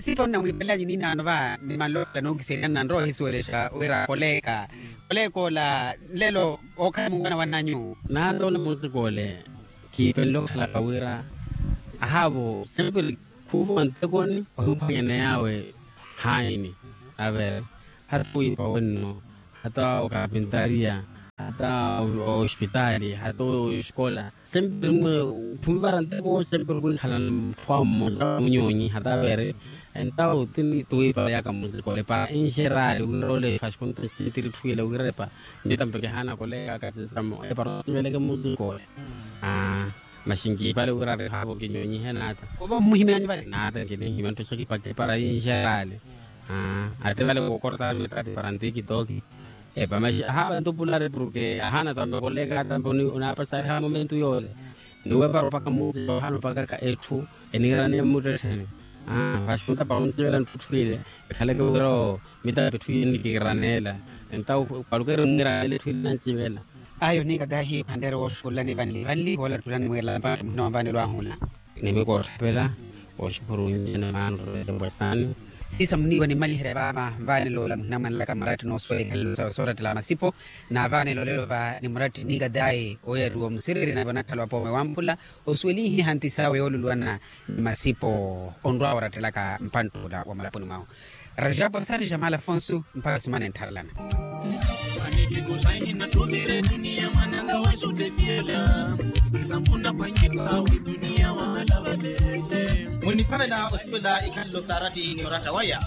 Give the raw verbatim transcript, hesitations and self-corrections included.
Sipa onnamwiipalanyu ninaano va ni manlokhala nookiseriya nnanrowa ohisuwelexa wira koleka, koleka ola nlelo ookhala munkwana wa nnanyu. Naata ole munsikole kiipenle okhalaka wira ahaavo sempre khuuvuwa ntekoni ohimuphwanyana yaawe haayini avere hata wiipa wenno hata okapintariya hata ospitaali hata oskola sempre mwe khumivara nteko sempre khwikhala muthu awo mmosa munyonyi hata avere entawo tini tuwiipa yaka musikole para enxerali wira ole fashikonto sintiri tthuwile wirepa. Nitampeke haana kolekaka sisamo epara osiveleke musikole. Aa maxi nkiipale wira ari haavo kinyonyihe naata. Ova ommuhimyanyu vale naata nkinihimya nttoxo kipakhe para inxerali. Aa ati vale kookorotaka mitati para ntikitoki. Epa maxi ahaava ntupulari porke ahaana tampe kolekaka tampe onaapasariha momentu yoole. Niwepara opaka muusi ohaana opakaka etthu eniiraneya mmuttettheni. Aa vaxi ntapara onsivela nttutthu ile ekhaleke wira oo mitampe etthu iye nikiiraneela. Entawo kwalukeeri mwiiraneela etthu ile nansivela. Ayo niika tahi phanreere wooxukululani vanli vanli woolatulani mwiirela mpatto muhina wa mvaanelo ahu ola. Nimikootthapela wooxukhuru nnyene maanru etempo esaani. Siisa muniiwa nimmaliherya vaava mvaanelo ola muhina mwanlaka maratti noosuwela ikhalelo sawe soorattela masipo. Naavaanelo lelo va ni muratti niika tahi oyariwa omusiriri nave onakhala wa poome wamphula osuwelihiha nti sawe yooluluwana ni masipo onrwa orattelaka mpanttuula wa mulaponi mwahu. Rajapo sani jamal afonso mpakha simana entharelana. Muniphavela osivela ikhalelo saarati ni oratta waya.